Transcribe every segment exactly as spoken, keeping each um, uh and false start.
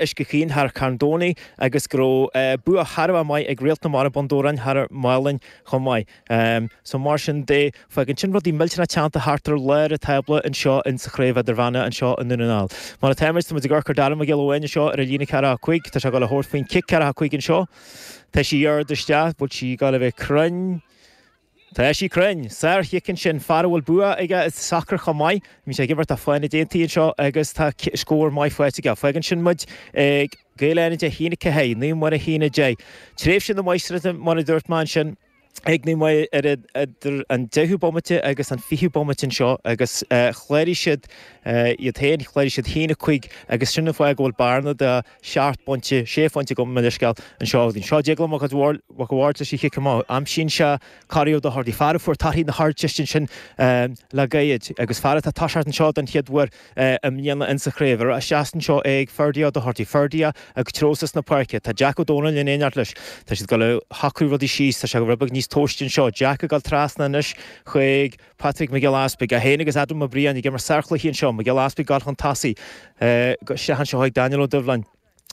Uisce Chaoin thar Carn Domhnaigh agus go raibh bua thar a bheith maith ag Réalt na Mara Bun Dobhráin thar Málainn chomh maith. So mar sin de, fágann sin rudaí millteanach teannta thart ar lár an tábla anseo in sa chraobh idirmheánach anseo i nDún na nGall. Mar atáimid, tá muid ag amharc ar Dara Mac Giolla Bháin anseo ar an líne ceathracha a cúig, tá sé ag dul a thabhairt faoin cic ceathracha a cúig anseo. Tá sí ard isteach, bhfuil sí ag dul a bheith cruinn? Tá sí cruinn. Sár-chic ansin, fear a bhfuil bua aige i sacar chomh maith. Bhí sé ag imirt do Fánaid Aontaithe anseo agus tá scór maith faighte aige. Fágann sin muid ag Gaeil Fhánaide a haon a ceathair, Naomh Muire a haon a deich. Tréimhse na máistreachta mar a dúirt mé ansin ag Naomh Muire ar idir an deichiú bomaite agus an fichiú bomaite anseo agus chláraigh siad iad féin, chláraigh siad haon a cúig agus sin an fáth go bhfuil bearna de sheacht bpointe, sé phointe gabh mo leithscéal anseo. Seo Déaglán Mac an Bhaird leis an chic amach. Aimsíonn sé Corey Ó Dochartaigh, fear a fuair torthaí na hArdteiste ansin le gairid agus fear atá ag toiseacht anseo den chéad uair i mbliana insa chraobh. Ar ais anseo ag Ferdia Ó Dochartaigh. Ferdia ag treo suas na páirce. Tá Jack Ó Dónaill in éineacht leis. Tá siad ag dul a shocrú rudaí síos. Tá sé rud beag níos tomhaiste anseo. Jack ag dul trasna anois chuig Patrick Mac Giolla Easpaig, é féin agus Adam Ó Briain ag imirt sárchluichí anseo. Mac Giolla Easpaig ag dul chun tosaigh. Isteach anseo chuig Daniel Ó Doibhlin.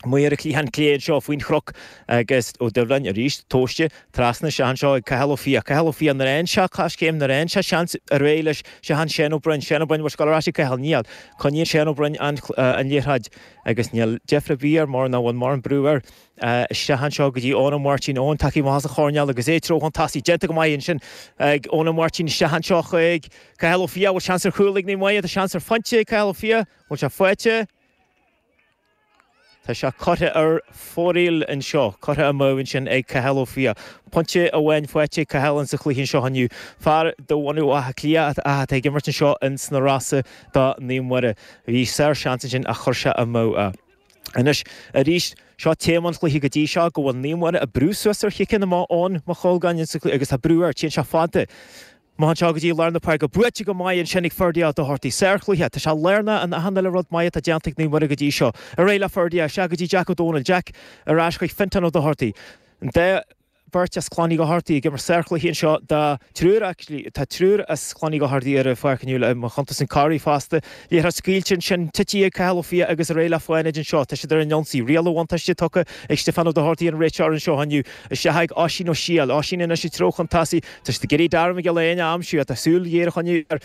Amuigh ar an chliathán clé anseo faoin chnoc agus Ó Doibhlin arís tomhaiste trasna isteach anseo ag Cathal Ó Fiaich. Cathal Ó Fiaich nuair a fhaigheann sé coiscéim, nuair a fhaigheann sé seans ar aghaidh leis isteach chuig Seán Ó Broin. Seán Ó Broin, bhfuil sé ag dul ar ais ag Cathal? Níl. Coinníonn Seán Ó Broin an liathróid agus níl deifir ar bith air mar nach bhfuil mórán brú air. Isteach anseo go dtí Eoin Ó Máirtín. Eoin tagtha amach as an choirnéal agus é treo chun tosaigh. Déanta go maith ansin ag Eoin Ó Máirtín isteach anseo chuig Cathal Ó Fiaich. Bhfuil seans ar chúl ag Naomh Muire? Tá seans ar phointe ag Cathal Ó Fiaich. Bhfuil sé faighte? Tá sé curtha ar fóraoil anseo, curtha amú ansin ag Cathal Ó Fiaich. Pointe amháin faighte ag Cathal insa chluiche anseo inniu. Fear de bhunadh Átha Cliath atá ag imirt anseo ins na Rosa do Naomh Muire. Bhí sár-sheans ansin ach chuir sé amú é. Anois, arís, seo téama an chluiche go dtí seo, go bhfuil Naomh Muire ag brú suas ar chiceanna amach ón Maigh Cholgáin agus tá brú air, téann sé fada. Amach anseo go dtí lár na páirce. Buaite go maith ansin ag Ferdia Ó Dochartaigh. Sárchluiche. Tá sé lárnach in achan uile rud maith atá déanta ag Naomh Muire go dtí seo. Ar aghaidh le Ferdia, isteach go dtí Jack Ó Dónaill. Jack ar ais chuig Fintán Ó Dochartaigh. An dá bheirt as Clann Uí Dhochartaigh ag imirt sárchluichí anseo. Tá triúr actually, tá triúr as Clann Uí Dhochartaigh ar an pháirc inniu i mo chuntas an Corey fosta. Liathróid scaoilte ansin, tite ag Cathal Ó Fiaich agus ar aghaidh le Fánaid anseo. Tá siad ar an ionsaí. Riail an bhuntáiste tugtha ag Stiofán Ó Dochartaigh an réiteoir anseo inniu. Isteach ag Oisín Ó Siadhail. Oisín anois ag treo chun tosaigh. Tá siad ag iarraidh Dara Mac Giolla Éanna a aimsiú. Tá súil ghéar a choinneáil air.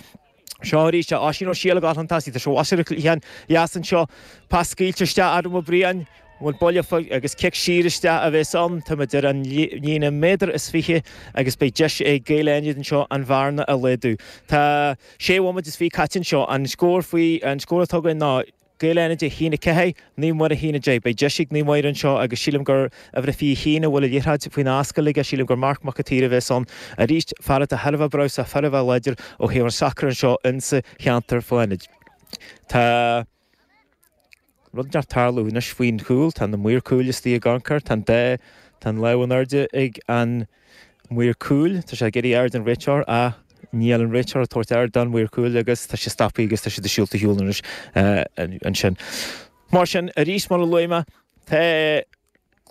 Seo arís é Oisín Ó Siadhail ag dul chun tosaigh. Tá sé abhus ar an chliathán dheas anseo. Pas scaoilte isteach Adam Ó Briain. Bhfuil buille faoi agus cic siar isteach a bheas ann. Táimid ar an líne méadar is fiche agus beidh deis ag Gaeil Fhánaid anseo an bhearna a laghdú. Tá sé bhomaite is fiche caite anseo. An scór faoi, an scór atá againn ná Gaeil Fhánaid a haon a ceathair, Naomh Muire a haon a deich. Beidh deis ag Naomh Muire anseo agus sílim gur uimhir a fiche haon a bhfuil an liathróid faoina ascaill aige, sílim gur Marc Mac an tSaoir a bheas ann arís. Fear atá thar a bheith breabhsach, thar a bheith láidir ó thaobh an sacair anseo insa cheantar Fánaid. Tá rud inteacht tarlú anois faoin chúl, tá na maoir cúil istigh ag amharc air, tá an dá, tá an lámh in airde ag an maor cúil, tá sé ag iarraidh aird an réiteoir ach níl an réiteoir ag tabhairt aird don mhaor cúil agus tá sé stoptha agus tá siad ag siúl a shiúl anois ansin. Mar sin, arís mar a luaigh mé, tá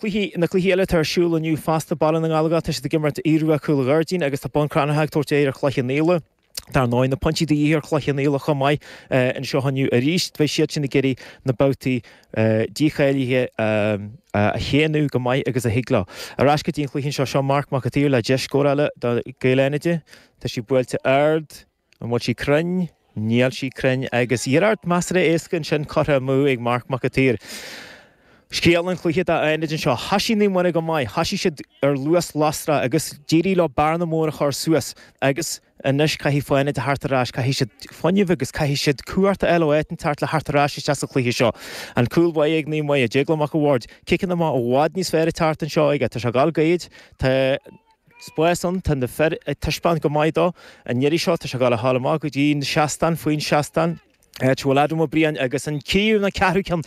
cluichí, na cluichí eile atá ar siúl inniu fosta, Baile na nGallóglach, tá siad ag imirt Aodh Rua Cúil Ghairdín agus tá Bun Cranncha ag tabhairt aghaidh ar Chloich Cheann Fhaola. Dar ndóigh, na pointí de dhíth ar Chloich Cheann Fhaola chomh maith anseo inniu arís. Beidh siad sin ag iarraidh na babhtaí dícháilithe a shéanadh go maith agus a thig leo. Ar ais go dtí an chluiche anseo, seo Marc Mac an tSaoir le deis scórála do Gaeil Fhánaide. Tá sí buailte ard. An bhfuil sí cruinn? Níl sí cruinn agus iarracht measartha éasca ansin curtha amú ag Marc Mac an tSaoir. Scéal an chluiche d'Fhánaid anseo. Thoisigh Naomh Muire go maith. Thoisigh siad ar luas lasrach agus d'éirigh leo bearna mór a chur suas agus anois caithfidh Fánaid a theacht ar ais. Caithfidh siad fuinneamh agus caithfidh siad cumhacht a fháil ó áit inteacht le theacht ar ais isteach sa chluiche seo. An cúl báire ag Naomh Muire, Déaglán Mac an Bhaird. Ciceanna amach i bhfad níos fearr ag teacht anseo aige. Tá sé ag dul gairid. Tá spás ann. Tá na fir ag taispeáint go maith dó. An iarraidh seo tá sé ag dul a ghabháil amach go dtí an seastán, faoin seastán. Áit a bhfuil Adam Ó Briain agus an tríú nó ceathrú ceann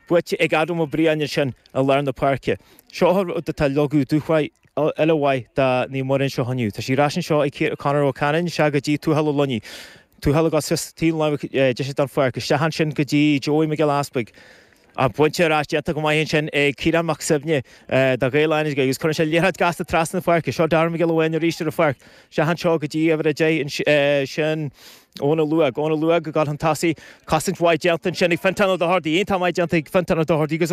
buaite ag Adam Ó Briain ansin i lár na páirce. Seo an rud atá ag leagadh dúshraith eile mhaith do Naomh Muire anseo inniu. Tá sí ar ais anseo ag Conor Ó Canainn, isteach go dtí Tuathal Ó Luinnigh. Tuathal ag dul suas taobh na láimhe deise den pháirc, isteach ansin go dtí Joey Mac Giolla Easpaig. An pointe ar ais déanta go maith ansin ag Ciarán Mac Suibhne do Ghaeil Fhánaid agus cuireann sé liathróid gasta trasna na páirce. Seo Darragh Mac Giolla Bháin arís ar an pháirc. Isteach anseo go dtí uimhir a deich sin Eoin Ó Luaig. Eoin Ó Luaig ag dul chun tosaigh. Cosaint mhaith déanta ansin ag Fintán Ó Dochartaigh. Iontach maith déanta ag Fintán Ó Dochartaigh agus